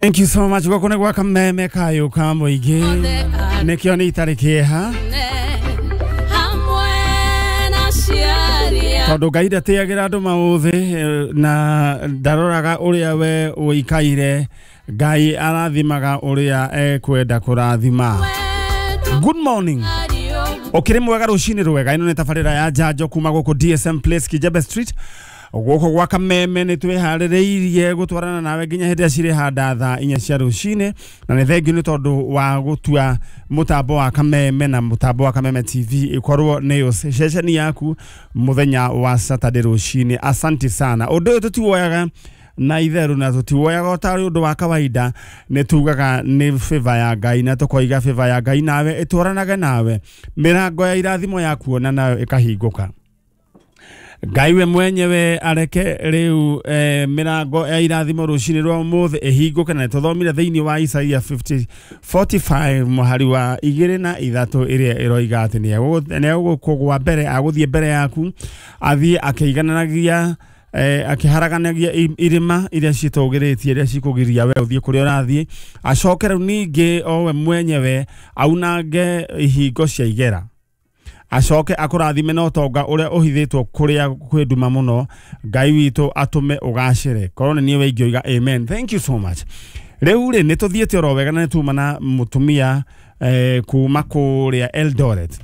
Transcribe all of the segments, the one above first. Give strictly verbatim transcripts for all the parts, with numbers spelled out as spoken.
Thank you so much. Gũkũ nĩ gwa Kameme kayũ ka mũingĩ, nĩkĩo nĩ itarĩ kĩeha hamwe na aciari tondũ Ngai ndatĩagĩra andũ maũthĩ na ndaroraga ũrĩa we ũikaire. Ngai arathimaga ũrĩa ekwenda kũrathima. Good morning. Ũkĩrĩ mwega rũcinĩ rwega. Ĩno nĩ tabarĩra ya njanjo kuma gũkũ D S M Place, Kijebe Street, gũkũ gwa Kameme. Nĩ twĩharĩrĩirie gũtwarana nawe nginya hĩndĩ ĩrĩa cirĩ handa thaa inya cia rũcinĩ, na nĩ thengiũ nĩ tondũ wa gũtua mũtambo wa Kameme na mũtambo wa Kameme T V ĩkorwo nĩyo ceceni yaku mũthenya wa Saturday rũcinĩ. Asanti sana. Ũndũ ũyũ tũtiwoyaga na itheru na tũtiwoyaga o tarĩ ũndũ wa kawaida. Nĩ tugaga nĩ favor ya Ngai, na tũkoiga favor ya Ngai nawe ĩtwaranage nawe, mĩrango ya irathimo ya kuona nayo ĩkahingũka. Ngai we mwenyewe areke rĩu eh, mĩrango ya irathimo rũcinĩ rwa ũmũthĩ ĩhingũke. Na nĩtũthomire thĩinĩ wa Isaia fifty forty-five mũhari wa igĩrĩ na ithatũ, ĩrĩa ĩroiga atĩ nĩ egũkũgwa mbere, agũthiĩ mbere yaku, athiĩ akĩigananagia, eh, akĩharaganagia irĩma iria citũgĩrĩtie, iria cikũgiria we ũthiĩ kũrĩa ũrathiĩ. Acoke rĩu ningĩ o we mwenyewe aunange ihingo cia igera, acoke akũrathime na ũtonga ũrĩa ũhithĩtwo kũrĩa kwĩ nduma mũno. Ngai witũ atũme ũgacĩre. Korwo nĩ niĩ we ingĩoiga amen. Thank you so much. Rĩu rĩ, nĩ tũthiĩte oro wega na nĩ tuma na mũtumia eh, kuma kũrĩa Eldoret,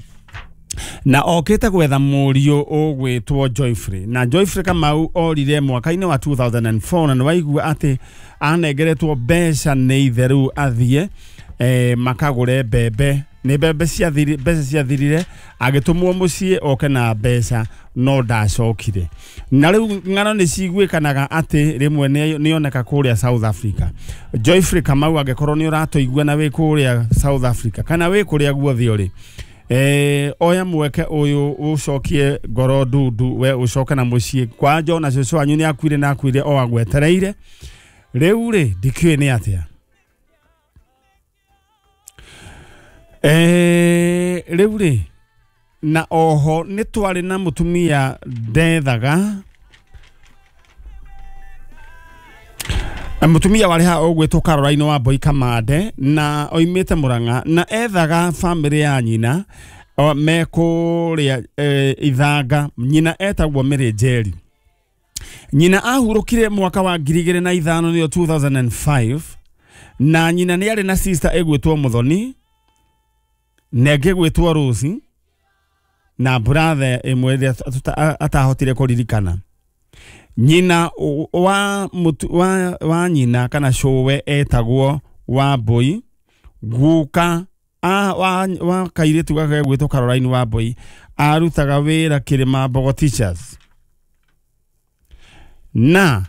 na okĩte gwetha mũriũ ũgwĩtwo Joyfrey. Na Joyfrey Kamau orire mwaka-inĩ wa two thousand four, na nĩ waigua atĩ anengeretwo mbeca nĩ ithe rĩu athiĩ eh, makagũre mbembe. Nĩ mbembe ciathiri, mbeca ciathirire, agĩtũmwo mũciĩ oke na mbeca, no ndacokire. Na rĩu ng'ano nĩ ciguĩkanaga atĩ rĩmwe nĩ oneka kũrĩa South Africa. Joyfrey Kamau, angĩkorwo nĩ ũratũigua na wĩ kũrĩa South Africa kana wĩ kũrĩa guothe ũrĩ, eh, oya mweke ũyũ ũcokie ngoro ndundu, we ũcoke na mũciĩ kwanja. Ona cũcũ wanyu nĩ akuire na akuire o agwetereire. Rĩu rĩ, ndikĩũĩ nĩ atĩa. Eh, rĩu rĩ, na oho nĩ twarĩ na mũtumia ndethaga, mũtumia warĩ haha ũgwĩtwo Caroline wa Mboi Kamande, na oimĩte Mũrang'a, na ethaga bamĩrĩ ya nyina o, me kũrĩa e, Ithanga. Nyina etagwo Mary Njeri. Nyina ahurũkire mwaka wa ngiri igĩrĩ na ithano, nĩyo two thousand five. Na nyina nĩ arĩ na sister ĩgwĩtwo Mũthoni na ĩngĩ gwĩtwo Rose na brother ĩmwe ĩrĩa atahotire kũririkana. Nyina wa, mutu, wa, wa nyina kana cũwe etagwo Wambui. Guka a, wa, wa kairĩtu gaka gwĩtwo Caroline Wambui arutaga wĩra Kĩrĩma Mbogo Teachers. Na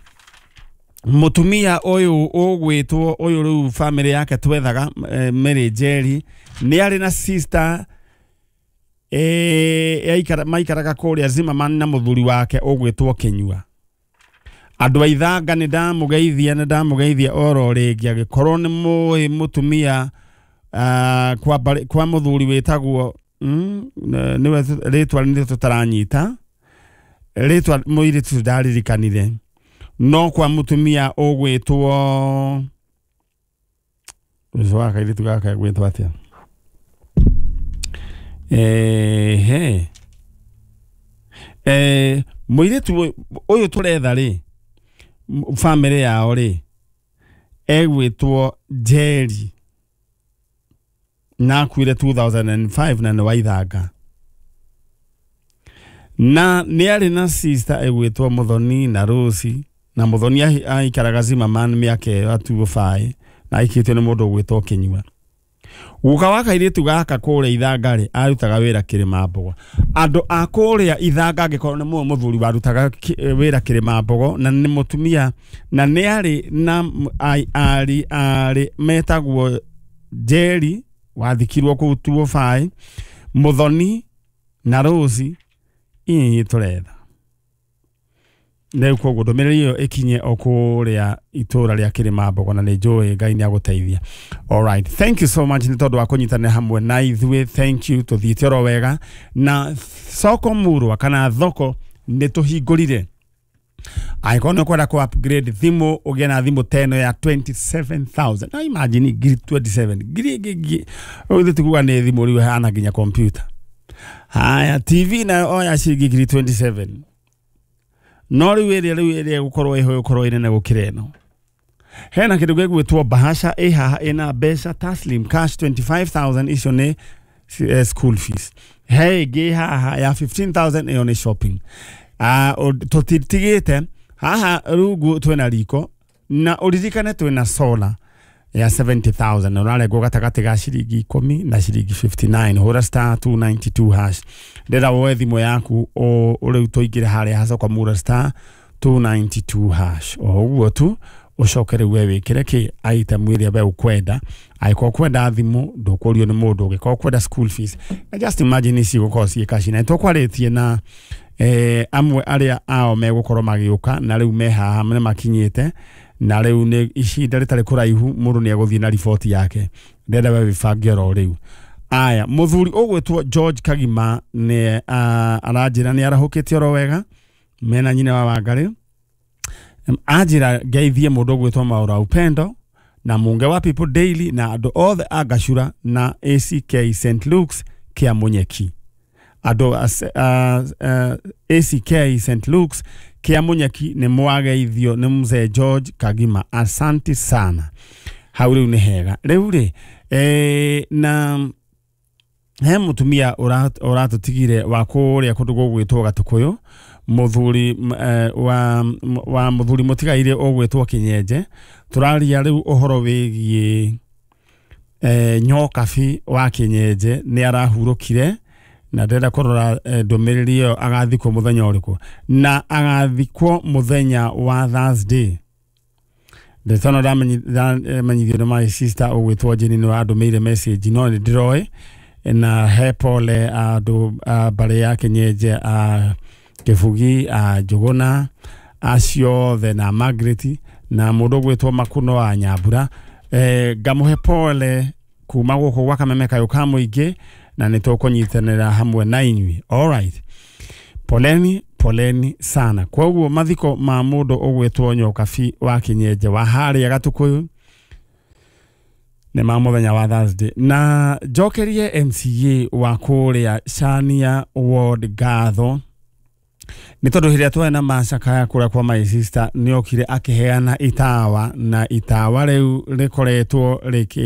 mũtumia ũyũ ũgwĩtwo ũyũ rĩu famĩlĩ yake twethaga, eh, Mary Njeri, nĩ arĩ na sister eh, yaikara, maikaraga kũrĩa Zimmerman na mũthuri wake ũgwĩtwo Kĩnyua. Andũ a Ithanga, nĩ ndamũgeithia, nĩ ndamũgeithia oro rĩngĩ. Angĩkorwo nĩ mũĩ mũtumia uh, kwa, barĩ- kwa mũthuri wĩtagwo mm, nĩwe rĩtwa nĩ tũtaranyita rĩtwa, mũirĩtu ndaririkanire, no kwa mũtumia ũgwĩtwo ũcio wa kairĩtu gaka gwĩtwo atĩa? Ehe, eh, mũirĩtu ũyũ tũretha rĩ, bamĩrĩ yao rĩ, egwĩtwo Njeri na akuire two thousand five, na nĩ wa Ithanga, na nĩ arĩ na sister ĩgwĩtwo Mũthoni na Rose. Na Mũthoni ahi- aikaraga Zimmerman mĩaka ĩyo atuo baĩ, na aikĩtio nĩ mũndũ ũgwĩtwo Kĩnyua. Guka wa kairĩtu gaka kũrĩa Ithanga rĩ, arutaga wĩra Kĩrĩma Mbogo. Andũ a kũrĩa Ithanga, angĩkorwo nĩ mũĩ mũthuri warutaga ki- wĩra Kĩrĩma Mbogo na nĩ mũtumia na nĩ arĩ na m- ai- arĩ arĩ metagwo Njeri wathikirwo kũu tuo baĩ, Mũthoni na Rose, inyinyi tũretha rĩu. Koguo ndũmĩrĩri ĩyo ĩkinye o kũrĩa itũra rĩa Kĩrĩma Mbogo, na nĩ njũĩ Ngai nĩ agũteithia. Alright, thank you so much nĩ tondũ wa kũnyitanĩra hamwe na ithuĩ. Thank you. Tũthiĩte oro wega na soko murwa kana thoko nĩ tũhingũrire. Angĩkorwo nĩ ũkwenda kũ upgrade thimũ, ũgĩe na thimũ teno ya twenty-seven thousand. Na imagine ngiri twenty-seven ngiri ĩngĩ, ũgĩthiĩ tikuga nĩ thimũ rĩu ĩhana nginya computer. Haya, T V nayo oya ciringi ngiri twenty-seven, no rĩu ĩrĩa rĩu ĩrĩa ĩgũkorwo ĩho ĩgũkorwo ĩnene gũkĩra ĩno. Hena kĩndũ gĩgwĩtwo bahasha ĩ haha ĩna mbeca taslim cash twenty-five thousand, icio nĩ school fees. He ĩngĩ haha ya fifteen thousand, ĩyo nĩ shopping. Uh, tũtitigĩte haha rungu twĩna riko na ũririkane twĩna solar ya seventy thousand, na ũrarengwo gatagatĩ ga ciringi ikũmi na ciringi fifty-nine. Hũra star two ninety-two hash, ndĩra woe thimũ yaku rĩu tũingĩre harĩa hacoka mura star two ninety-two hash o ũguo tu, ũcoke rĩu we wĩkĩre kĩ item ĩrĩa we ũkwenda. Angĩkorwo ũkwenda thimũ ndũkũrio nĩ mũndũ, ũngĩkorwo ũkwenda school fees, na just imagine ici gũkorwo ciĩ cash. Na nĩtũkwarĩtie na eh, amwe arĩa ao megũkorwo magĩũka na rĩu me haha nĩ makinyĩte, na rĩu nĩ ihinda rĩtarĩ kũraihu mũndũ nĩ egũthiĩ na riboti yake. Ndĩrenda we wĩbange oro rĩu. Aya, mũthuri ũgwĩtwo George Kagima nĩ aranjĩra nĩ arahũkĩte oro wega mena nyina wa Wangarĩ. Anjĩra ngeithie mũndũ ũgwĩtwo Maura Upendo na Munge wa People Daily na andũ othe a Gacura na A C K Saint Luke's kĩa Munyeki. Andũ A C K Saint Luke's kĩa Munyeki nĩ mwageithio nĩ mzee George Kagima, asanti sana. Hau rĩu nĩ hega. Rĩu rĩ eh, na he mũtumia ũratũtigire wa kũrĩa kũndũ gũgwĩtwo Gatũkũyũ, mũthuri wa wa mũthuri mũtigaire ũgwĩtwo Kinyenje. Tũraria rĩu ũhoro wĩgiĩ eh, Nyokabi wa Kinyenje nĩ arahurũkire, na ndĩrenda kũrora ndũmĩrĩri ĩyo agathikwo mũthenya ũrĩkũ, na agathikwo mũthenya wa Thursday. Ndĩtona ndamenyithio nĩ my sister ũgwĩtwo Jane nĩ wandũmĩire message, no nĩ ndĩroĩ na he pole andũ mbarĩ ya Kinyenje, a Kĩbugi, a Njũgũna, acio othe na Margaret na mũndũ ũgwĩtwo Makuno wa Nyambura. Eh, ngamũhe pole kuma gũkũ gwa Kameme kayũ ka mũingĩ, na nĩ tũkũnyitanĩra hamwe na inyuĩ. Alright, poleni poleni sana. Koguo mathiko ma mũndũ ũgwĩtwo Nyokabi wa Kinyenje wa harĩa Gatũkũyũ nĩ ma mũthenya wa Thursday. Na njokerie M C A wa kũrĩa Chania Ward ngatho nĩ tondũ hĩrĩa twarĩ na macakaya kũrĩa kwa my sister nĩ okire akĩheana itawa, na itawa rĩu rĩkoretwo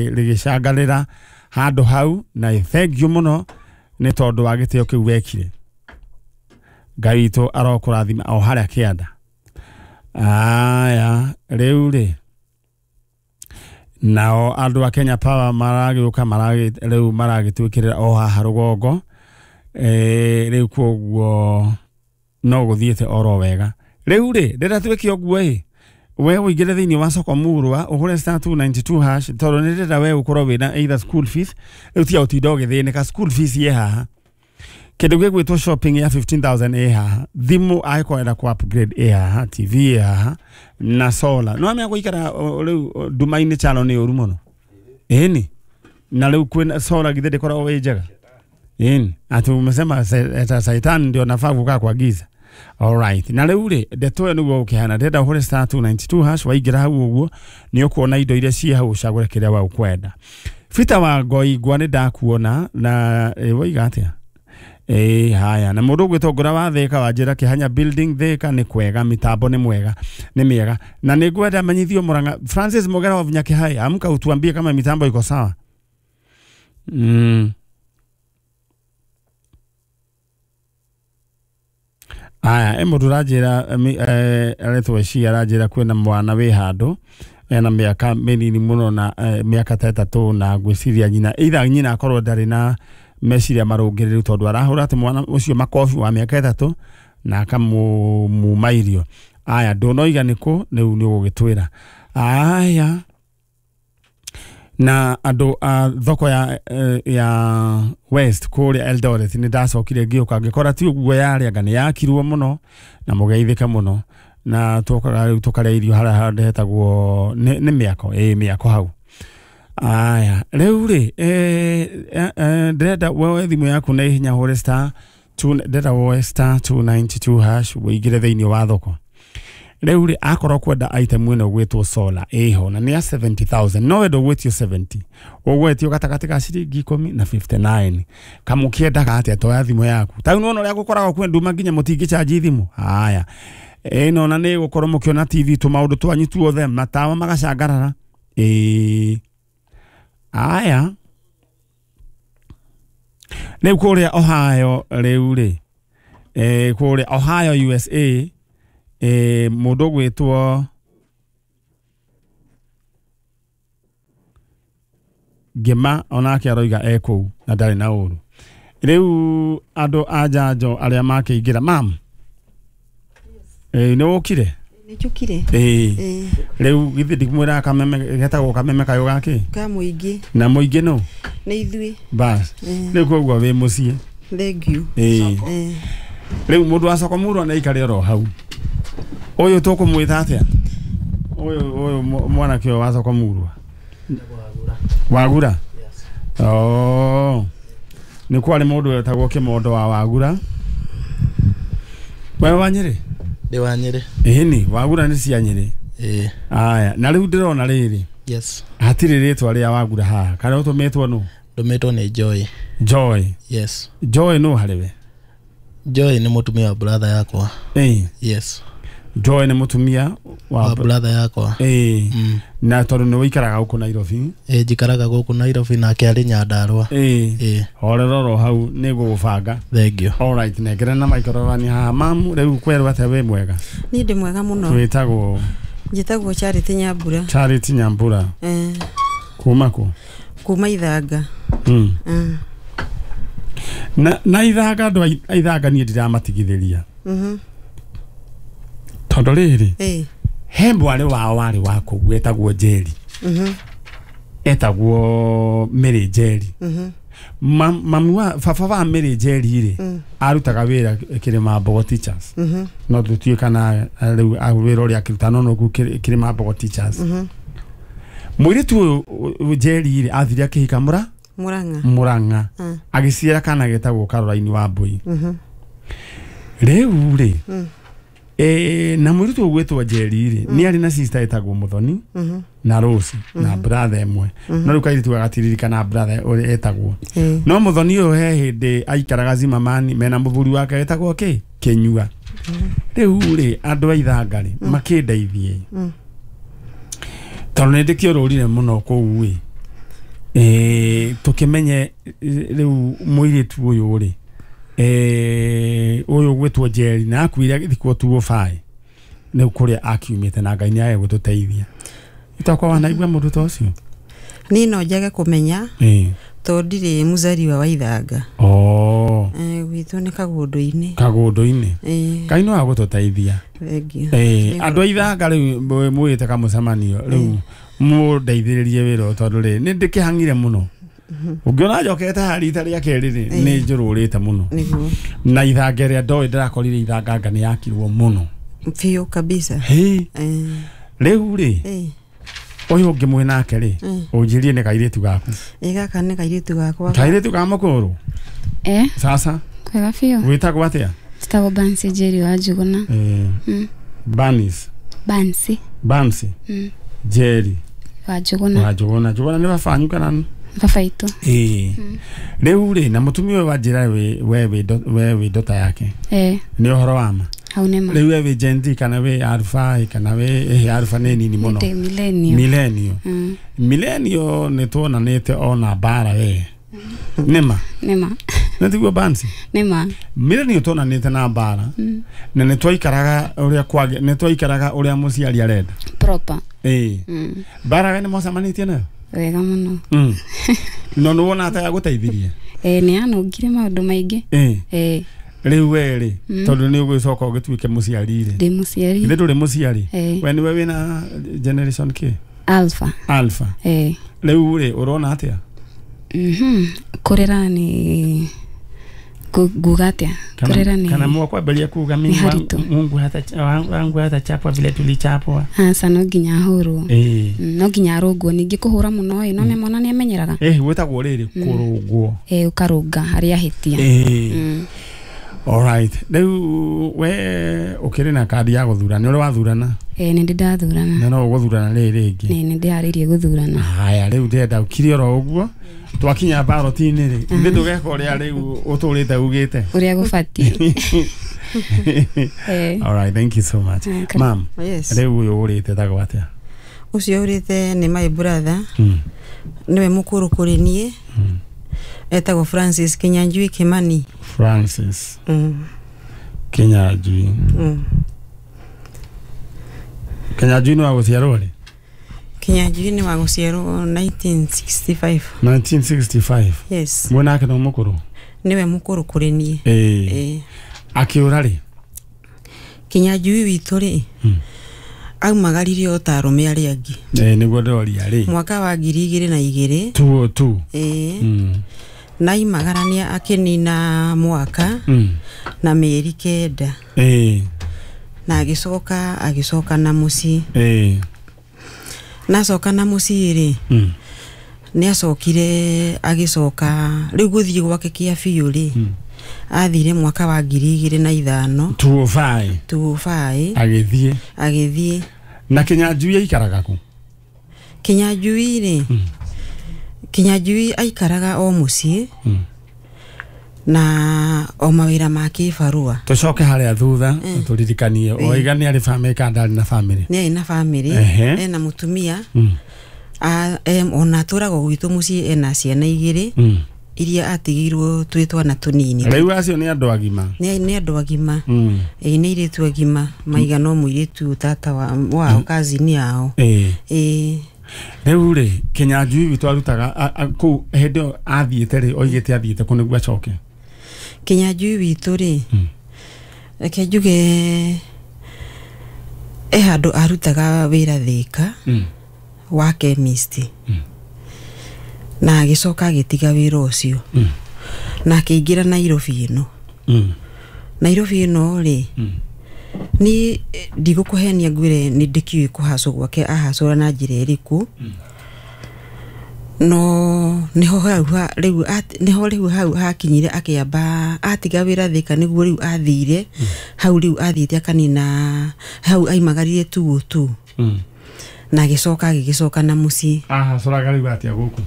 rĩgĩcangarĩra handũ hau, na thank you mũno nĩ tondũ wa gĩtĩo kĩu wekire. Ngai witũ arokũrathima o harĩa kĩanda. Aya, rĩu rĩ nao andũ a Kenya Power maragĩũka maragĩ rĩu maragĩtwĩkĩrĩra o haha rũgongo. Eh, rĩu koguo no gũthiĩte oro wega. Rĩu rĩ ndĩrenda twĩke ũguo ĩ, we ũingĩre thĩinĩ wa soko murwa ũhũre star two ninety-two hash, tondũ nĩ ndĩrenda we ũkorwo wĩna either school fees. Rĩu tiga ũtinda ũgĩthĩnĩka, school fees ĩ haha, kĩndũ gĩgwĩtwo shopping ya fifteen thousand ĩ haha, thimũ angĩkorwo enda kũ upgrade ĩ haha, T V ĩ haha na solar. No amenya gũikara rĩu nduma-inĩ chalo nĩ ũru mũno. Ĩni na rĩu kwĩna solar githĩ ndĩkoragwo ĩ njega. Ĩni ati umesema Satan ndio nafaa kukaa kwa giza. Alright, na rĩu rĩ ndeto ĩyo nĩguo ũkĩhana. Ndĩrenda ũhũre star two ninety-two hash, waingĩra hau ũguo nĩ ũkuona indo iria ciĩ hau ũcagũre kĩrĩa we ũkwenda. Peter wa Ngoingwa nĩ ndakuona na woiga atĩa? Eh, haya, na mũndũ ũgwĩtwo Ngũra wa Thĩka wa njĩra Kĩhanya building Thĩka nĩ kwega, mitambo nĩ mwega, nĩ mĩega. Na nĩ ngwenda menyithio Murang'a Francis Mogera wa Nyakĩhai, amka utuambie kama mitambo iko sawa. Mm. Aya, e mũndũ ũranjĩra aretwo Eci aranjĩra kwĩna mwana wĩ handũ ena mĩaka mĩnini mũno na mĩaka ta ĩtatũ, na ngwĩciria nyina either nyina akorwo ndarĩ na meciria marũngĩrĩru tondũ arahũra atĩ mwana ũcio makobi wa mĩaka ĩtatũ na akamũmuma irio. Aya, ndũnoiga nĩkũ rĩu nĩ ũgũgĩtwĩra. Aya, na andũ a thoko ya ya West kũrĩa Eldoret nĩ ndacokire ngĩũka ngĩkora ti ũguo yarĩ, anga nĩ yakirwo mũno na mũgeithĩka mũno, na twokaga rĩu tũkarĩa irio harĩa handũ hetagwo nĩ mĩako, ĩ mĩako hau. Aya, rĩu rĩ ndĩrenda woe thimũ yaku na ihenya hũre star two, ndĩrenda woe star two ninety-two hash ũingĩre thĩinĩ wa thoko. Rĩu rĩ akorwo kwenda item ĩno gwĩtwo solar ĩho na nĩ ya seventy thousand no we ndũgwĩtio seventy ũgwetio gatagatĩ ka ciringi ikũmi na fifty nine. Kamũkĩendaga atĩa toya thimũ yaku ta rĩu nĩwona ũrĩa gũkoragwo kwĩ nduma nginya mũtingĩcanji thimũ. Haya ĩno na nĩ gũkorwo mũkĩona T V tũmaũndũ twanyu tuothe matawa magacangarara. Ĩĩ aya rĩu kũrĩa Ohio rĩu rĩ eh kũrĩa Ohio U S A eh mũndũ gwĩtwo Ngĩma onake aroiga e kũu na ndarĩ na ũru. Rĩu andũ a njanjo arĩa makĩingĩra mam eh nĩ wokire? Nĩ njũkire. Ĩĩ rĩu githĩ ndikumwĩraga kameme getagwo kameme kayũ gakĩ ka mũingĩ na mũingĩ nũ nĩ ithuĩ bas rĩu koguo wĩ mũciĩ. Thank you. Ĩĩ rĩu mũndũ wa soko mũrũ nĩ oro hau ũyũ tũkũmwĩta atĩa ũyũ ũyũ mwanake ũyũ wa soko mũrũ Wagura. Oh nĩ kwarĩ mũndũ wetagwo Kĩmondo wa Wagura. Wewe wa Nyĩrĩ? Ndĩ wa Nyĩrĩ. Ĩni Wagura nĩ cia Nyĩrĩ. Ĩĩ. Aya na rĩu ndĩrona rĩrĩ. Yes. Hatirĩ rĩtwa rĩa Wagura haha kana ũtũmĩtwo nũ? Ndũmĩtwo nĩ Joy. Joy. Yes. Joy nũ harĩ we? Joy nĩ mũtumia wa brother yakwa. Ĩĩ. Yes. Joy nĩ mũtumia wa, wa brother yakwa. Ĩĩ. Mm. Na tondũ nĩ ũikaraga gũkũ Nairobi? Ĩĩ njikaraga gũkũ Nairobi nake arĩ Nyandarua. Ĩĩ. Ĩĩ. Horera oro hau nĩ ngũgũbanga. Thank you. All right, nengera na microphone haha mamu rĩu kwerwo atĩa wĩ mwega? Niĩ ndĩ mwega mũno. Twĩtagwo? Njĩtagwo Charity Nyambura. Charity Nyambura. Eh. Kuma kũ? Kuma Ithanga. Mm. Mm. Na na Ithanga andũ a Ithanga niĩ ndiramatigithĩria. Mhm. Tondũ rĩrĩ ĩĩ he mwarĩ wao warĩ wa kũu wetagwo Njeri. Mhm. Etagwo Mary Njeri. Mhm. Mamu wa baba wa Mary Njeri rĩ mm. arutaga wĩra Kĩrĩma Mbogo Teachers. Mhm. No tũtuĩe kana rĩu wĩra ũrĩa akĩruta no no kũu Kĩrĩma Mbogo Teachers. Mhm. Mũirĩtu ũyũ Njeri rĩ athire akĩhika Mũra Mũrang'a. Mũrang'a. Mm. Agĩciara kana getagwo Caroline wa Mbui. Mhm. Rĩu rĩ mm. Eh na mũirĩtu ũgwĩtwo Njeri rĩ mm. nĩ arĩ na sister etagwo Muthoni mm -hmm. na Rose mm -hmm. na brother ĩmwe mm -hmm. no rĩu kairĩtu gagatiririkana brother ũrĩa etagwo mm. no Muthoni ũyũ he hĩndĩ aikaraga Zimamani mena mũthuri wake etagwo kĩ Kĩnyua. Rĩu rĩ andũ a Ithanga rĩ mm. makĩndeithie mm. tondũ nĩ ndĩkĩũrũrire mũno kũu ĩ eh tũkĩmenye rĩu mũirĩtu ũyũ rĩ eh ũyũ gwĩtwo Njeri na akuire agĩthikwo two oh five nĩ kũrĩa akiumĩte na Ngai nĩ age gũtũteithia. Itakwa wanaigua mũndũ ta ũcio? Niĩ no njage kũmenya ĩĩ tondũ ndirĩ mũzariwa wa Ithanga. Oh. Eh gwitũ nĩ Kagũndũ-inĩ. Kagũndũ-inĩ. Ĩĩ. Ngai no agũtũteithia. Thank you. Ĩĩ andũ a Ithanga rĩu mwĩte kamũcemanio rĩu mũndeithĩrĩrie wĩra tondũ rĩ nĩ ndĩkĩhang'ire mũno. Ũngĩona njokete haha rita rĩa kerĩ rĩ nĩ njũrũrĩte mũno. Nĩguo. Na Ithanga ĩrĩa ndoĩ ndĩrakorire Ithanga nga nĩ yakirwo mũno. Biũ kabisa. Hĩ. Rĩu rĩ ũyũ ũngĩ mwĩ nake rĩ ũnjĩrie nĩ kairĩtu gaku. Ĩ gaka nĩ kairĩtu gakwa. Kairĩtu ka mũkũrũ? Eh. Sasa. Kwega biũ. Wĩtagwo atĩa? Njĩtagwo Bansi Njeri wa Njuguna. Eh. Banis. Bansi. Bansi. Njeri. Wa Njuguna. Wa Njuguna. Njuguna nĩ baba wanyu kana? Baba itũ. Ĩĩ. Rĩu rĩ na mũtumia ũyũ wanjĩra we we wĩ ndota yake. Eh. Nĩ ũhoro wa ma? Hau nĩ ma. Rĩu we wĩ Gen Z kana wĩ Alpha kana wĩ ĩhĩ Alpha nĩ nini mũno? Ndĩ millennial. Millennial. Mm. Millennial nĩ tuonanĩte ona mbara we. Nĩ ma? Nĩ ma. Nĩ tiguo Bansi? Nĩ ma. Millennial tuonanĩte na mbara. Na nĩ twaikaraga ũrĩa kwage nĩ twaikaraga ũrĩa mũciari arenda. Proper. Ĩĩ. Mbara we nĩ mwacemanĩtie nayo? Wega mũno. Mm. No nĩ wona ta yagũteithirie? Eh nĩ yanũngire maũndũ maingĩ. Ĩĩ. Eh. Rĩu we rĩ tondũ nĩ ũgũcoka ũgĩtuĩke mũciari rĩ. Ndĩ mũciari. Ithe ndũrĩ mũciari? Eh. We nĩwe wĩna generation K? Alpha. Alpha. Eh. Rĩu rĩ ũrona atĩa? Mhm. Kũrera nĩ nguga atĩa? Kũrera nĩ kana mwakwambĩrĩria kuga mimi Mungu hata wangu hata chapwa vile tulichapwa. Aca no nginya ahũrwo. Eh. No nginya arũngwo ningĩ kũhũra mũno ĩ no mwana nĩ amenyeraga. Eh gwĩtagwo rĩrĩ kũrũngwo. Eh ũkarũnga harĩa ahĩtia. Eh. Alright, rĩu we ũkĩrĩ na kandi ya gũthurana, nĩ ũrĩ wathurana? Ĩĩ, nĩ ndĩ ndathurana. Na no ũgũthurana rĩrĩ rĩngĩ? Nĩ nĩ ndĩharĩirie gũthurana. Haya, rĩu ndĩrenda ũkire oro ũguo twakinya ballot-inĩ rĩ, ithuĩ ndũgeka ũrĩa rĩu ũtũrĩte ugĩte ũrĩa gũbatiĩ. Eh. Alright, thank you so much. Mm, karibu. Ma'am, Yes. rĩu ũyũ ũrĩte tagwo atĩa? Ũcio ũrĩte nĩ my brother, Mm. nĩwe mũkũrũ kũrĩ niĩ. Mm. Etagwo Francis Kinyanjui Kimani. Francis Mm. Kinyanjui. Mm. Kinyanjui nĩ wa gũciarwo rĩ? Kinyanjui nĩ wa gũciarwo nineteen sixty-five. nineteen sixty-five. Yes. Mwena wake no mũkũrũ? Nĩwe mũkũrũ kũrĩ niĩ. Ĩĩ. Ĩĩ. Akĩũra rĩ? Kinyanjui witũ rĩ, Mm. aumagarire o ta arũme arĩa angĩ. Ĩĩ, nĩguo ndĩroria rĩ. Mwaka wa ngiri igĩrĩ na igĩrĩ. two oh two. Ĩĩ. Mm. Na aimagarania akĩnina mwaka Mm. na mĩeri kenda. Ĩĩ. Na agĩcoka agĩcoka na mũciĩ. Ĩĩ. Na acoka na mũciĩ rĩ, Mm. nĩ acokire agĩcoka rĩu gũthiĩ gwake kĩa biũ rĩ, Mm. athire mwaka wa ngiri igĩrĩ na ithano. two oh five. two oh five. Agĩthiĩ. Agĩthiĩ. Na Kinyanjui aikaraga kũ? Kinyanjui rĩ, Mm. Kinyanjui aikaraga o mũciĩ Mm. na o mawĩra ma kĩbarũa. Tũcoke harĩa thutha Mm. tũririkanie oiga nĩ arĩ bamĩrĩ kana ndarĩ na bamĩrĩ? Nĩ arĩ na bamĩrĩ, Ehe. ena mũtumia, Mm. a, em, ona atũraga gwitũ mũciĩ ena ciana igĩrĩ Mm. iria atigĩirwo twĩ twana tũnini. Rĩu acio nĩ andũ agima? Nĩ nĩ andũ agima. Mm. Ĩĩ, nĩ airĩtu agima maigana o mũirĩtu tata wa, wao kazini yao. Ĩĩ. Ĩĩ. Rĩu rĩ, Kinyanjui witũ arutaga a- a- kũu hĩndĩ ĩyo athiĩte rĩ, oigĩte athiĩte kũ nĩguo acoke? Kinyanjui witũ rĩ, Mm. reke njuge e handũ arutaga wĩra Thĩka Mm. wa chemist. Mm. Na agĩcoka agĩtiga wĩra ũcio. Mm. Na akĩingĩra Nairobi ĩno. Mm. Nairobi ĩno rĩ, Mm. niĩ ndigũkũhenia ngwĩre nĩ ndĩkĩũĩ kũhacwo gwake ahacũra na njĩra ĩrĩkũ. No nĩho hau ha- rĩu at- nĩho rĩu hau hakinyire akĩamba atiga wĩra Thĩka nĩguo rĩu athire hau rĩu athiĩte akanina hau aimagarire two oh two. Mm. Na agĩcoka agĩgĩcoka na mũciĩ. Ahacũraga rĩu atĩa gũkũ?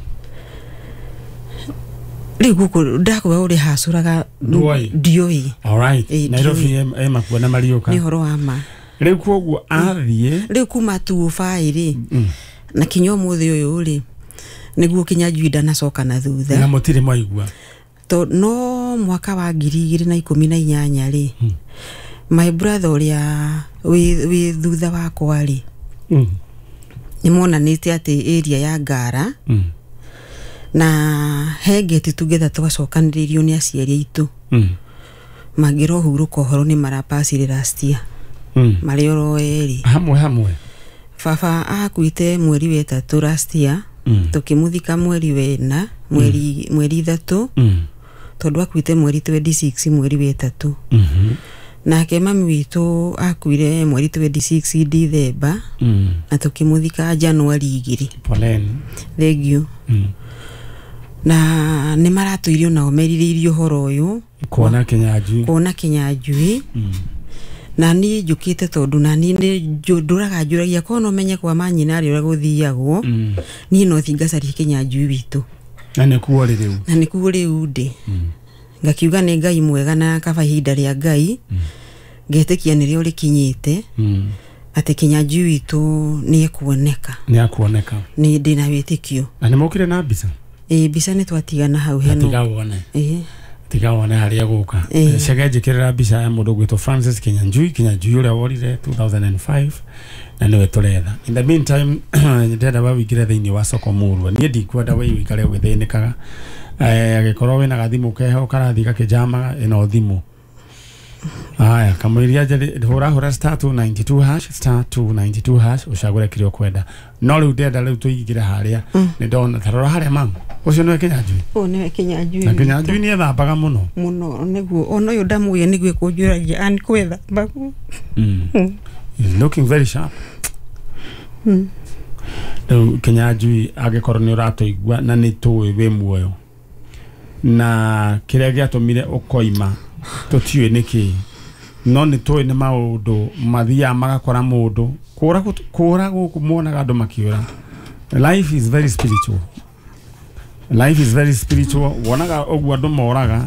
Rĩu gũkũ ndakwĩra ũrĩa hacũraga Ndũĩ? ndiũĩ. Alright. Ĩĩ, Nairobi ndiũĩ. e makuo na mariũka. Nĩ ũhoro wa ma. Rĩu koguo athiĩ Rĩu kuma two oh five rĩ, Mm. na kinya ũmũthĩ ũyũ rĩ, nĩguo Kinyanjui ndanacoka na thutha. Na mũtirĩ mwaigua. To no mwaka wa ngiri igĩrĩ na ikũmi na inyanya rĩ, Mm. my brother ũrĩa wĩ wĩ thutha wakwa rĩ, Mm. nĩ monanĩte atĩ area ya Ngara Mm. na he ngeti together twacokanĩrĩirio nĩ aciari aitũ. Mm. Mangĩrohurũka ũhoro nĩ marapacire last year. Mm. Marĩ oro erĩ. Hamwe hamwe. Baba akuĩte mweri wa ĩtatũ last year. Mm. Tũkĩmũthika mweri wa ĩna, mweri mweri ithatũ. Mm. Tondũ akuĩte mweri twenty-six mweri wa ĩtatũ. Mhm. Nake mami witũ akuire mweri twenty-six December. Mm. Na tũkĩmũthika January igĩrĩ. Poleni. Thank you. Mm. Na nĩ maratũire onao merirĩirie ũhoro ũyũ. Kuona Kinyanjui. Kuona Kinyanjui. Mm. Na niĩ njũkĩte tondũ na niĩ nĩ ndũraga njũragia korwo no menye kwa manyina rĩ ũrĩa gũthiagwo. Mm. Niĩ no thiĩ ngacarie Kinyanjui witũ. Na nĩkuo rĩ rĩu? Na nĩkuo rĩu ndĩ. Mm. Ngakiuga nĩ Ngai mwega na kaba ihinda rĩa Ngai. Mm. Ngetĩkia nĩrĩo rĩkinyĩte. Mm. Atĩ Kinyanjui witũ nĩ ekuoneka. Nĩ akuoneka. Nĩ ndĩna wĩtĩkio. Na nĩ mokire na mbica? Ĩĩ, mbica nĩ twatigana hau heno. Tiga wone. Ĩĩ. Tiga wone harĩa gũka. Ĩĩ. Cege njĩkĩrĩra mbica ya mũndũ ũgwĩtwo Francis Kinyanjui, Kinyanjui ũrĩa worire two thousand and five na nĩwe tũretha. In the meantime ndĩrenda we wĩingĩre thĩinĩ wa soko mũrua. Niĩ ndikwenda we wĩikare ũgĩthĩnĩkaga. Eh, agĩkorwo wĩna gathimũ keho karathiĩ gakĩnjamaga, ĩno thimũ. Haya, kamũiria njeri hũra hũra star two ninety-two hash, star two ninety-two hash, ũcagũre kĩrĩa ũkwenda. No rĩu ndĩrenda rĩu tũingĩre harĩa. Mm. Nĩ ndona ta rora harĩa mamu. Ũcio nĩwe Kinyanjui? Ũyũ nĩwe Kinyanjui. Na Kinyanjui nĩ ethambaga mũno. Mũno nĩguo ona ũyũ ndamũĩ nĩguo ekũnjũragia ani kwĩthamba. Mm. Mm. He's looking very sharp. Mm. Rĩu Kinyanjui angĩkorwo nĩ ũratũigua na nĩ tũĩ wĩ muoyo. Na kĩrĩa gĩatũmire ũkoima Tũtiũĩ nĩkĩ, no nĩ tũĩ nĩ maũndũ mathiaga magakora mũndũ kũra kũra gũkũ muonaga andũ makĩũra. Life is very spiritual, life is very spiritual. Wonaga ũguo andũ moraga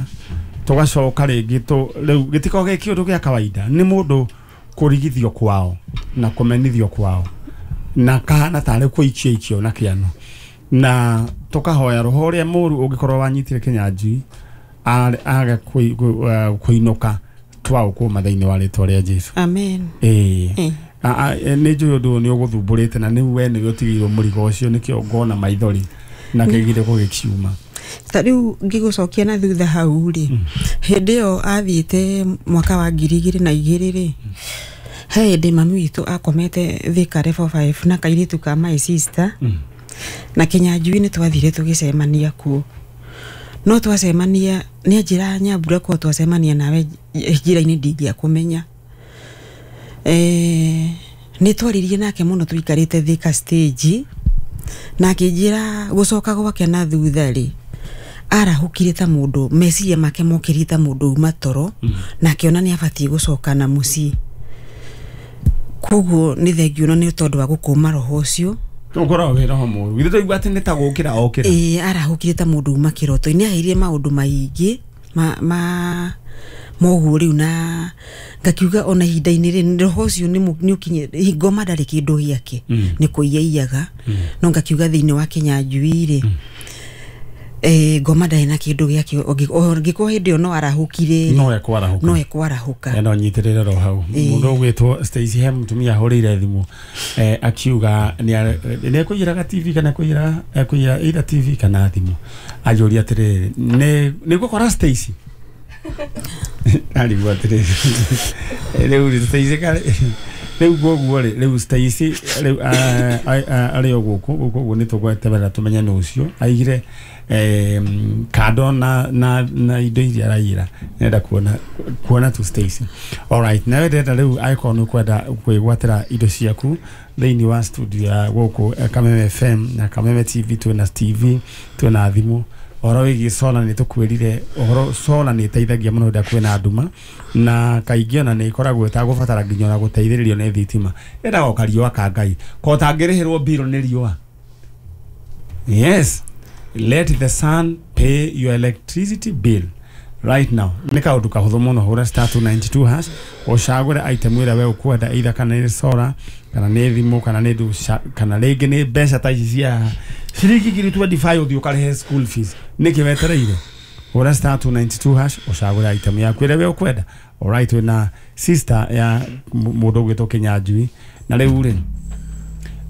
tũgacoka rĩngĩ tũ rĩu gĩtikoragwo gĩ kĩũndũ gĩa kawaida, nĩ mũndũ kũrigithio kwao na kũmenithio kwao na kahana tarĩ kũikio ikio na kĩano, na tũkahoya roho ũrĩa mũru ũngĩkorwo wanyitire Kĩnyanjui age kũinũka twaũkũma thĩinĩ wa rĩtwa rĩa Jesu. Amen. Ĩĩ nĩ njũĩ ũndũ ũyũ nĩ ũgũthumbũrĩte na nĩ we nĩwe ũtigĩirwo mũrigo ũcio, nĩkĩo ngona maithori na kĩgire gũgĩkiuma. Ta rĩu ngĩgũcokia na thutha hau rĩ, hĩndĩ ĩyo athiĩte mwaka wa ngiri igĩrĩ na igĩrĩ rĩ, he hĩndĩ mami witũ akomete Thika level five na kairĩtu ka my sister na Kĩnyanjui nĩ twathire tũgĩcemania kuo, no twacemania nĩ anjĩra Nyambura ko twacemania nawe njĩra-inĩ ndingĩakũmenya. Eh, nĩ twaririe nake mũno tũikarĩte Thika stage, na akĩnjĩra gũcoka gwake na thutha rĩ, arahũkire ta mũndũ meciria make mokĩrire ta mũndũ uma toro, na akĩona nĩ abatiĩ gũcoka na mũciĩ. Koguo nĩ thengio na nĩ tondũ wa gũkũma roho ũcio ũkoragwo wĩ roho mũru, githĩ twaigua atĩ nĩ ta gũkĩra okĩra. Ĩĩ, arahũkire ta mũndũ uma kĩroto-inĩ, aheire maũndũ maingĩ ma ma moguo rĩu, na ngakiuga ona ihinda-inĩ rĩ roho ũcio nĩ ũkinye ngoma ndarĩ kĩndũ gĩake, nĩ kũiyaiyaga, no ngakiuga thĩinĩ wa Kĩnyanjui rĩ, eh ngoma ndarĩ na kĩndũ gĩake, ũngĩkorwo hĩndĩ ĩyo no arahũkire no ekwarahũka, no ekwarahũka. No nyitĩrĩre ro hau mũndũ ũgwĩtwo Stacy, he mũtumia ahũrĩire thimũ eh akiuga nĩ ekũiyĩraga T V kana ekũiyĩra ekũiyĩra either T V kana thimũ, anjũria atĩrĩrĩ nĩ nĩ ngũkora Stacy arigwo atĩrĩrĩ rĩu Stacy karĩ rĩu koguo rĩ rĩu Stacy rĩu arĩ o gũkũ gũkũ ũguo nĩ tũgweterera tũmenye nũ ũcio aigire eh kando na na na indo iria araiyĩra, nenda kuona kuona tu Stacy. Alright, nawe ndĩrenda rĩu angĩkorwo nĩ ũkwenda kwĩgwatĩra indo ciaku thĩinĩ wa studio ya gũkũ Kameme F M na Kameme T V, twĩna T V twĩna thimũ. Ũhoro wĩgiĩ solar nĩ tũkwĩrire ũhoro solar nĩ ĩteithagia mũno rĩrĩa kwĩna nduma, na kaingĩ ona nĩ ĩkoragwo ĩtagũbatara nginya ona gũteithĩrĩrio nĩ thitima, yendaga o kariũa ka Ngai ko ũtangĩrĩhĩrwo mbirũ nĩ riũa. Yes, let the sun pay your electricity bill right now. Nĩ kaũndũ kahũthũ mũno, hũra star two ninety two hash ũcagũre item ĩrĩa we ũkwenda, either kana nĩ solar kana nĩ thimũ kana nĩ ndũ kana rĩngĩ nĩ mbeca ta ici cia ciringi ngiri twenty five ũthiĩ ũkarĩhe school fees. Nĩkĩ wetereire? Hũra star two ninety two hash ũcagũre item yaku ĩrĩa we ũkwenda. Alright, wĩna sister ya mũndũ ũgwĩtwo Kĩnyanjui, na rĩu rĩ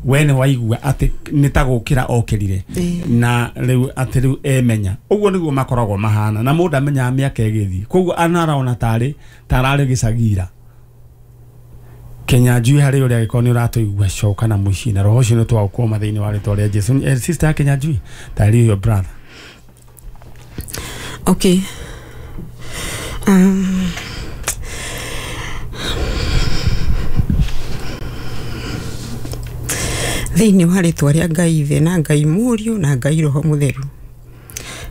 we nĩ waigua atĩ nĩ ta gũkĩra okĩrire na rĩu atĩ rĩu emenya ũguo nĩguo makoragwo mahana, na mũndũ amenyaga mĩaka ĩgĩthiĩ, koguo anarona tarĩ tararĩ gĩcagira. Kĩnyanjui harĩ ũrĩa angĩkorwo nĩ ũratũigua coka na mũciĩ na roho ũcio nĩ twaũkũma thĩinĩ wa rĩtwa rĩa Jesu. Eh, sister ya Kĩnyanjui, tarĩ your brother. Okay. Um, thĩinĩ wa rĩtwa rĩa Ngai Ithe na Ngai Mũriũ na Ngai Roho Mũtheru,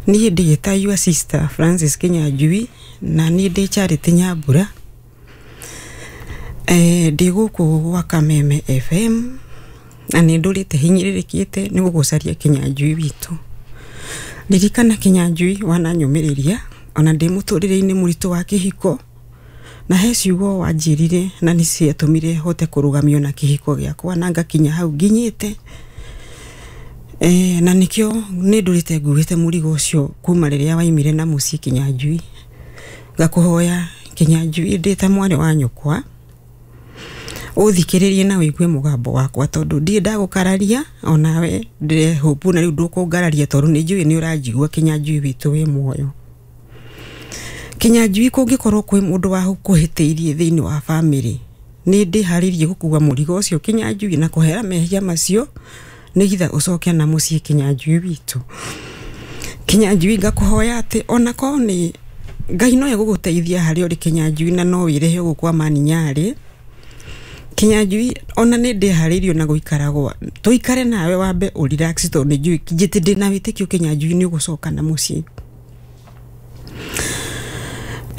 niĩ ndĩĩta your sister Francis Kĩnyanjui na niĩ ndĩ Charity Nyambura. Eh, ndĩ gũkũ gwa Kameme F M na nĩ ndũrĩte hinyĩrĩrĩkĩte nĩ gũgũcaria Kĩnyanjui witũ. Ririkana Kĩnyanjui wananyũmĩrĩria ona ndĩ mũtũrĩre-inĩ mũritũ wa kĩhiko, na he ciugo wanjĩrire na nĩ ciatũmire hote kũrũgamio na kĩhiko gĩakwa na ngakinya hau nginyĩte. Eh, na nĩkĩo nĩ ndũrĩte nguĩte mũrigo ũcio kuma rĩrĩa waimire na mũciĩ Kĩnyanjui. Ngakũhoya Kĩnyanjui ndĩ ta mwarĩ wa nyũkwa ũthikĩrĩrie na ũigue mũgambo wakwa, tondũ ndirĩ ndagũkararia onawe ndĩrehũmbu na rĩu ndũkũngararia, tondũ nĩ njũĩ nĩ ũranjigua Kĩnyanjui witũ wĩ muoyo. Kĩnyanjui kũngĩkorwo kwĩ mũndũ wakũhĩtĩirie thĩinĩ wa bamĩrĩ, nĩ ndĩharĩirie gũkua mũrigo ũcio Kĩnyanjui na kũhera mehia macio nĩgetha ũcoke na mũciĩ Kĩnyanjui witũ. Kĩnyanjui ngakũhoya atĩ onakorwo nĩ Ngai no egũgũteithia harĩa ũrĩ Kĩnyanjui na no wĩrehe gũkũ Amani Nyarĩ. Kĩnyanjui ona nĩ ndĩharĩirio na gũikara gwa tũikare nawe wambe ũ relax, tondũ nĩ njũĩ njĩtĩ ndĩna wĩtĩkio Kĩnyanjui nĩ ũgũcoka na mũciĩ.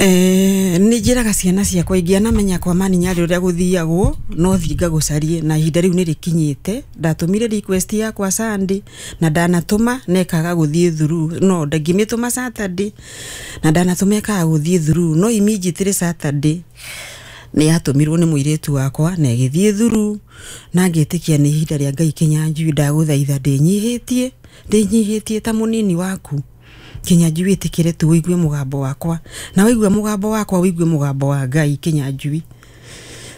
Eh, nĩ njĩraga ciana ciakwa ingĩanamenya kwa Maninyarĩ ũrĩa gũthiagwo no thiĩ ngagũcarie, na ihinda rĩu nĩ rĩkinyĩte. Ndatũmire request yakwa Sunday na ndanatũma na ĩkaga gũthiĩ through, no ndangĩmĩtũma Saturday na ndanatũma ĩkaga gũthiĩ through, no immediately Saturday nĩ yatũmirwo nĩ mũirĩtu wakwa na ĩgĩthiĩ through, na ngĩtĩkia nĩ ihinda rĩa Ngai. Kĩnyanjui, ndagũthaitha, ndĩnyihĩtie ndĩnyihĩtie ta mũnini waku. Kĩnyanjui, ĩtĩkĩre tu ũigue mũgambo wakwa, na waigua mũgambo wakwa ũigue mũgambo wa Ngai. Kĩnyanjui,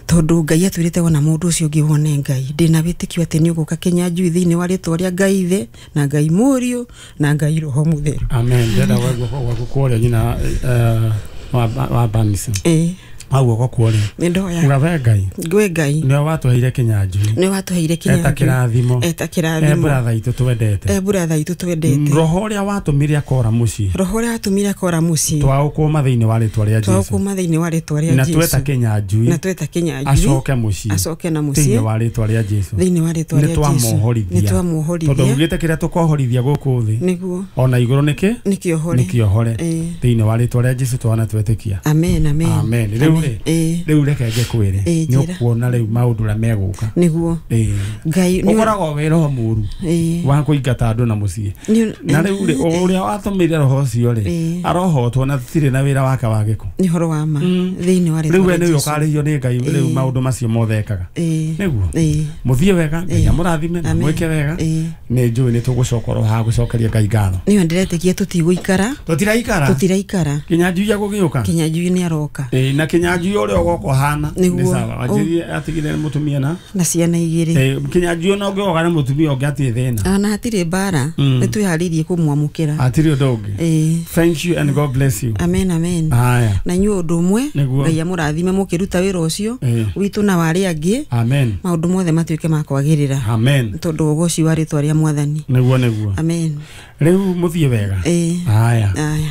tondũ Ngai atwĩrĩte wona mũndũ ũcio ũngĩ wone Ngai, ndĩna wĩtĩkio atĩ nĩ ũgũka, Kĩnyanjui, thĩinĩ wa rĩtwa rĩa Ngai Ithe na Ngai Mũriũ na Ngai Roho Mũtheru. Amen. Ndĩrenda gwa gwaku kworia nyina eh, wa wa Banisi. Ĩĩ. Wa guoko kworia. Nĩ ndoya. Uga we Ngai ngwĩ Ngai nĩwe watũheire Kĩnyanjui nĩ watũheire eta Kĩnyanjui kĩrathimo eta e kĩrathimo brother itũ twendete, e brother itũ twendete, roho ũrĩa watũmire akora mũciĩ, roho ũrĩa watũmire akora mũciĩ, twaũkũma thĩinĩ wa rĩtwa rĩa Jesu, twaũkũma thĩinĩ wa rĩtwa rĩa na Jesu, tweta Kĩnyanjui na tweta Kĩnyanjui acoke mũciĩ acoke na thĩinĩ mũciĩ wa rĩtwa rĩa Jesu, thĩinĩ wa rĩtwa nĩ rĩa Jesu, twamuohorithia, nĩ tondũ twamuohorithia, ugĩte kĩrĩa tũkohorithia gũkũ thĩ nĩguo ona igũrũ nĩkĩ nĩ kĩohore, nĩ kĩohore. Ĩĩ. Thĩinĩ wa rĩtwa rĩa Jesu twana twetĩkia. Amen, amen. Amen. Rĩu rĩ, Ĩĩ. rĩu reke ngĩkwĩre, Ĩĩ, nĩ njĩra. ũkuona rĩu maũndũ ũrĩa megũka. Nĩguo. Ĩĩ. Ngai nĩ- Ũkoragwo wĩ roho mũru Ĩĩ. wa kũingata andũ na mũciĩ, Nĩ- na rĩu rĩ, ũrĩa watũmĩire roho ũcio rĩ, Ĩĩ. arohotwo na tũtirĩ na wĩra wake wa gĩko. Nĩ ũhoro wa ma thĩinĩ wa rĩtwa Rĩu we rĩa nĩwe Jesu. ũkarĩhio nĩ Ngai rĩu Ĩĩ. maũndũ macio mothe ekaga. Ĩĩ. Nĩguo Ĩĩ. mũthiĩ wega, Ngai Ĩĩ. amũrathime na Amen. mwĩke wega. Ĩĩ. Nĩ njũĩ nĩ tũgũcoka oro haha gũcokeria Ngai ngatho. Nĩyo ndĩretĩkia tũtigũikara. Tũtiraikara. Tũtiraikara. Kĩnyanjui agũgĩũka. Kĩnyanjui nĩ aroka. Ĩĩ, na Kĩnyanjui ũrĩa ũgoka ũhana nĩ Nĩguo. sawa, wanjĩrire atigire mũtumia na na ciana igĩrĩ. Ĩĩ, Kĩnyanjui ona ũngĩoga na mũtumia ũngĩ atirĩ thĩna. Ona hatirĩ mbara. Mm. Nĩ twĩharĩirie kũmwamũkĩra. Hatirĩ ũndũ ũngĩ. Ĩĩ. Thank you and God bless you. Amen, amen. Haya. Na inyuĩ ũndũ ũmwe. Nĩguo. Ngai amũrathime mũkĩruta wĩra ũcio Ĩĩ. witũ na wa arĩa angĩ, Amen. maũndũ mothe matuĩke ma kwagĩrĩra, Amen. tondũ ũgoci wa rĩtwa rĩa Mwathani. Nĩguo, nĩguo. Amen. Rĩu mũthiĩ wega. Ĩĩ. Haya. Aya.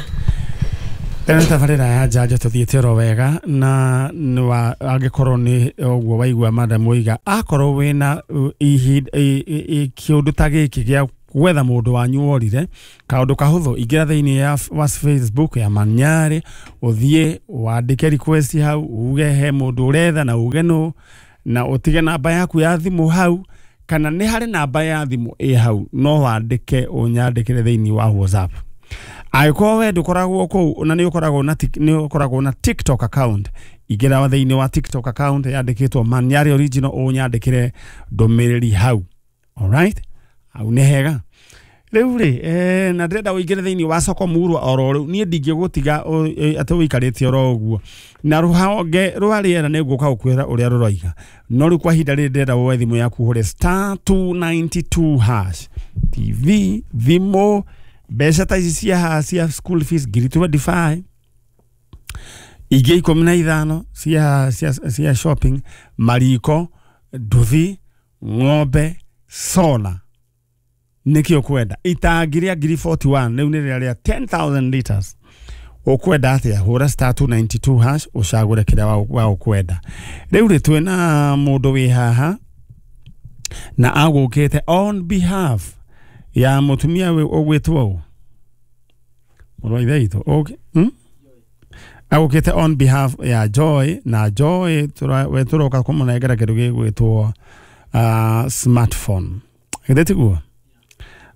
Ĩno tabarĩra ya njanjo tũthiĩte oro wega, na nĩ angĩkorwo nĩ ũguo waigua madam oiga, akorwo wĩna uh, ihinda i- i- i- kĩũndũ ta gĩkĩ gĩa gwetha mũndũ wanyu worire, kaũndũ kahũthũ, ingĩra thĩinĩ ya wa Facebook ya Manyarĩ, ũthiĩ wandĩke request hau, uge he mũndũ ũretha na uge nũ, na ũtige namba yaku ya thimũ hau, kana nĩ harĩ namba ya thimũ ĩ hau, no wandĩke ũnyandĩkĩre thĩinĩ wa WhatsApp. Angĩkorwo we ndũkoragwo kũu na nĩ ũkoragwo na tik- nĩ ũkoragwo na TikTok account, ingĩra thĩinĩ wa TikTok account yandĩkĩtwo Manyarĩ Original, ũnyandĩkĩre ndũmĩrĩri hau. Alright, hau nĩ hega. Rĩu rĩ, eh, na ndĩrenda ũingĩre thĩinĩ wa soko murwa oro rĩu, niĩ ndingĩgũtiga ũ- ĩ, atĩ ũikarĩte oro ũguo, na rũhonge rwa rĩera nĩ ngũka gũkwĩra ũrĩa rũroiga, no rĩu kwa ihinda rĩrĩ ndĩrenda woe thimũ yaku ũhũre star two nine two hash. T V, thimũ, mbeca ta ici cia haha cia school fees ngiri mĩrongo ĩrĩ na ithano, ingĩ ikũmi na ithano cia, cia, cia shopping, mariko, nduthi, ng'ombe, sola, nĩkĩ ũkwenda? Itangi rĩa ngiri mĩrongo ĩna na ĩmwe rĩu nĩ rĩrĩa rĩa ten thousand liters. Ũkwenda atĩa? Hũra star two nine two hash ũcagũre kĩrĩa wa- wa ũkwenda. Rĩu rĩ, twĩna mũndũ wĩ haha na agũkĩte on behalf ya mũtumia wĩ- ũgwĩtwo ũ, mũrũ wa ithe witũ. Okay. Hmm? Agũkĩte on behalf ya Joy, na Joy tũra- we tũroka kũmũnengera kĩndũ gĩgwĩtwo uh, smartphone, githĩ tiguo?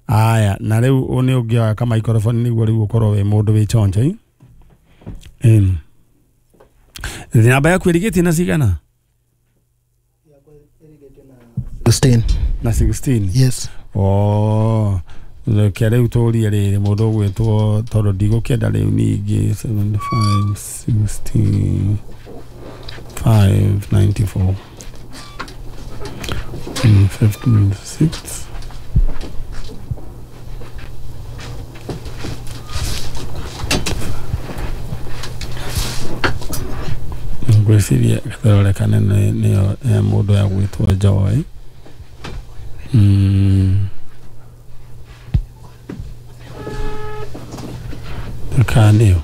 Aya, na rĩu ũ nĩ ũngĩoya ka microphone nĩguo rĩu ũkorwo wĩ mũndũ wĩ chonjo i Ĩni. Namba yaku ĩrigĩtie na cigana? sixteen. Na sixteen? Yes. Oh, reke rĩu tũrie rĩrĩ mũndũ ũgwĩtwo, tondũ ndigũkĩenda rĩu ningĩ seventy-five sixty five ninety-four mm, fifty-six. Ngwĩciria gatharore kanene nĩyo ya mũndũ ya gwĩtwo Joy. mm. Kana nĩyo